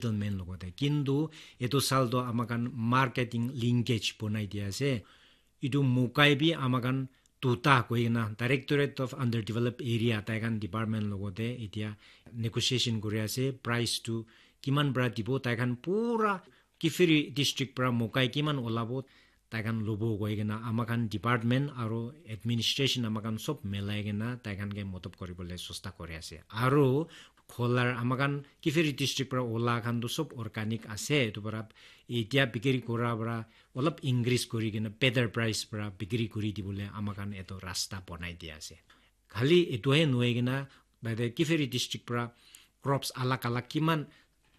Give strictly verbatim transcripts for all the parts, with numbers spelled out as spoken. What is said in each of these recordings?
settlement logote. Kintu etu sal toh amakhan marketing linkage bonai dia ase. Etu mokai bi amakhan tuta koikena Directorate of Underdeveloped Area taikhan department logote etia negotiation kuri ase. Price tu kiman pra dibo, taikhan pura Kiphire district pra mokai kiman olabo, taikhan lobo koikena amakhan department aro administration amakhan sob milai kena taikhan ke modop kuribole sosta kuri ase. Aro kholar amakhan Kiphire district pra ola khan tu sob organic ase, etu pra etia bikiri kura pra olop increase kuri kena better price pra bikiri kuri dibole amakhan etu rasta bonai dia ase. Khali etu he nohoi kena tate Kiphire district pra crops alag alag kiman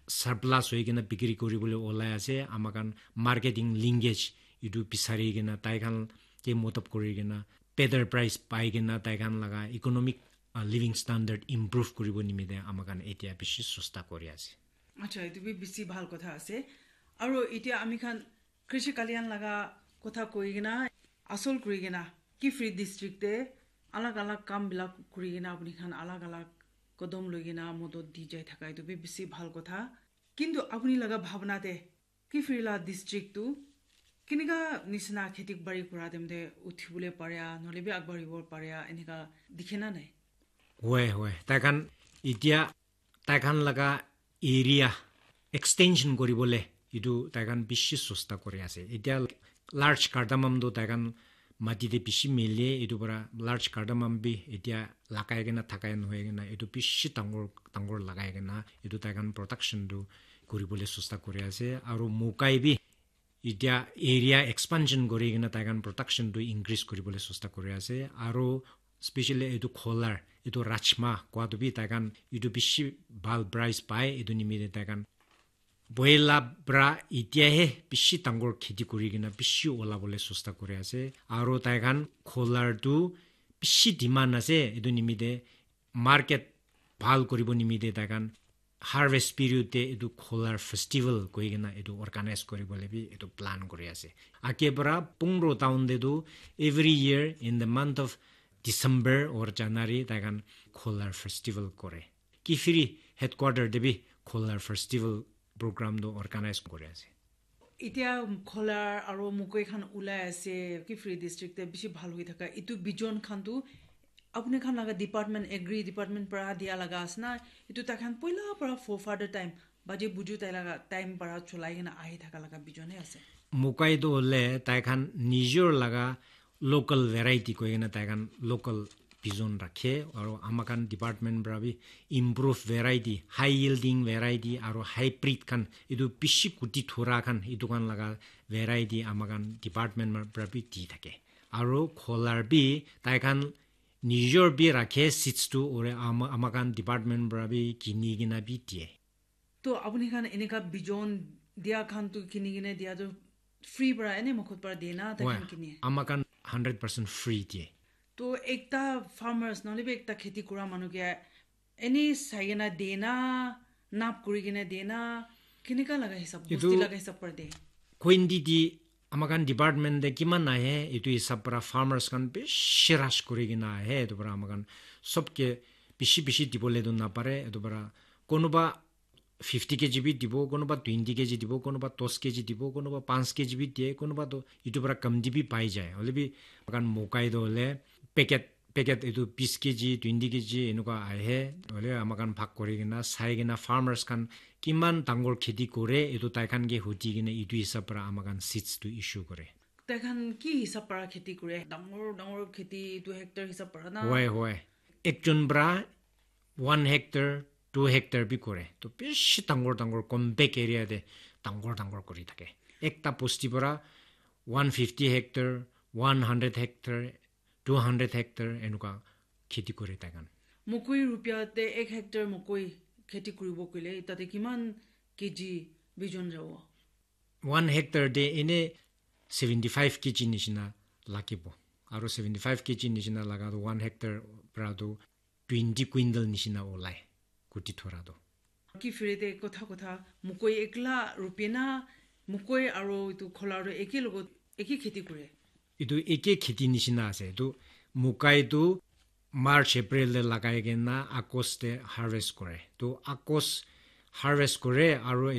surplus hoi kena bikiri kuribole olai ase, amakhan marketing linkage etu bisari kena taikhan ke modop kuri kena better price pai kena taikhan laga economic, uh, living standard improve kuribo nimite amakhan etia bishi sosta kuri ase. Acha, etu bi bishi bhal kotha ase. Aro etia ami khan Krishi Kalyan laga kotha koi kena, asol kuri kena, Kiphire district te alag alag kam bilak kuri kena apuni khan alag alag kodom loi kena modot di jai thaka, etu bi bishi bhal kotha. Kintu apuni laga bhabna te Kiphire la district tu kenika nisina kheti bari kura time te uthibole paria, nohole bi agbaribo paria, enika dikhe na nai? Hoi, hoi. Taikhan etia taikhan laga area extension kuribole etu taikhan bishi sosta kuri ase. Etia large cardamom tu taikhan mati te bishi mile, etu para large cardamom bi etia lagai kena thakai nohoi kena etu bishi dangor dangor lagai kena etu taikhan production tu kuribole sosta kuri ase. Aro mokai bi etia area expansion kuri kena taikhan production tu increase kuribole sosta kuri ase. Aro specially etu kholar, etu rajma kua tu bi taikhan etu bishi bhal price pai, etu nimite taikhan boila pra etia he bishi dangor kheti kuri kena bishi olabole sosta kuri ase. Aro taikhan kholar tu bishi demand ase, etu nimite market bhal kuribo nimite taikhan harvest period te etu kholar festival koi kena etu organize kuribole bi etu plan kuri ase. Ake para Pungro town te tu every year in the month of December or January taikhan kholar festival kore. Kiphire headquarter te bi kholar festival program tu organize kuri ase. Etia kholar aro mokoi khan ulai ase, Kiphire district te bishi bhal hoi thaka. Etu bijon khan tu apuni khan laga department, agri department para dia laga ase na? Etu tai khan poila para forefather time, baje buju tai laga time para cholai kena ahi thaka laga bijon he ase. Mokai tu hole tai khan nijor laga local variety koi kena tai khan local bijon rakhe, aro ama khan department para bi improve variety, high yielding variety aro hybrid khan, etu bishi kuti thora khan, etu khan laga variety ama khan department para bi di thake. Aro kholar bi tai khan nijor bi rakhe seeds tu, ore ama, ama khan department para bi kini kena bi die. To apuni khan enika bijon dia khan tu kini kena dia tu free para ene mukhot para de na, tai Wah, khan kini? Ama khan hundred percent free die. To ekta farmers, nohole bi ekta kheti kura manu ke ene sai kena de na, nap kuri kena de na, kenika laga hisab, Etu bosti laga hisab para de? Quantity ama khan department te kiman ahe, etu hisab para farmers khan bishi rush kuri kena ahe, etu para ama khan sob ke bishi bishi dibole tu napare, etu para konoba fifty K G bi dibo, konoba twenty K G dibo, konoba dos K G dibo, konoba panch K G bi die, konoba to etu para kamti bi pai jai. Hole bi ama khan mokai to hole packet, packet etu bis K G, twenty K G enuka ahe. Hole ama khan bhag kuri kena, sai kena farmers khan kiman dangor kheti kore, etu tai khan ke hudi kena etu hisab para ama khan seeds tu issue kore. Tai khan ki hisab para kheti kore? Dangor, dangor kheti tu hectare hisab para na? Hoi, hoi. Ekjon para one hectare, two hectare bi kore. To bishi dangor dangor compact area te dangor dangor kuri thake. Ekta bosti para one fifty hectare, one hundred hectare, two hundred hectare enuka kheti kore tai khan. Mokoi rupia te ek hectare mokoi kheti kuribo koile tate kiman K G bijon jabo? One hectare te ene seventy five K G nishina lagibo. Aro seventy five K G nishina laga to one hectare para to twenty quintal nishina olai, kuti thora to. Kiphire te kotha kotha mokoi ekla rupe na, mokoi aro etu kholar tu eke logot eke kheti kore? Etu eke kheti nishina ase. Etu mokai tu March, April te lagai kena August te harvest kore. To August harvest kore aro